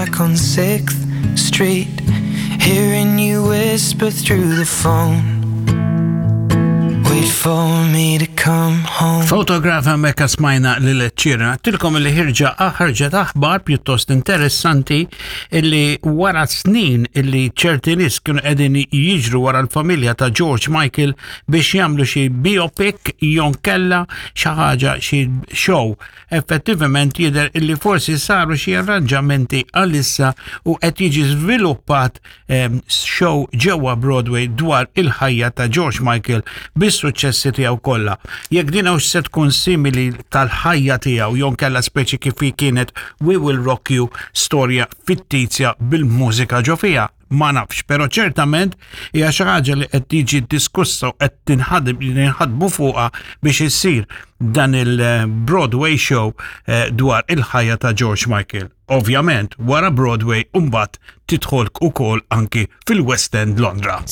back on 6th Street, hearing you whisper through the phone. Wait for me to come home. Photograph hemmhekk smajna lil ċira. Tilkom li ħirġa ħarġet aħbar pjuttost interessanti illi wara snin illi ċerti nies kienu qegħdin jiġru wara l-familja ta' George Michael biex jagħmlu xi biopic jonkella xi ħaġa xi show. Effettivament jidher illi forsi saru xi arranġamenti għalissa u qed jiġi żviluppat show ġewwa Broadway dwar il-ħajja ta' George Michael bis-suċċessi tiegħu kollha. Jekk din hawnx se tkun simili tal-ħajja tiegħu jew kellha speċi kif hi kienet We Will Rock You storja fittizja bil-mużika ġo fiha, ma nafx, però ċertament hija xi ħaġa li qed tiġi diskussa u qed tinħadem ninħadmu fuqha biex issir dan il-Broadway show eh, dwar il-ħajja ta' George Michael. Ovvjament, wara Broadway mbagħad tidħol ukoll anki fil-West End Londra.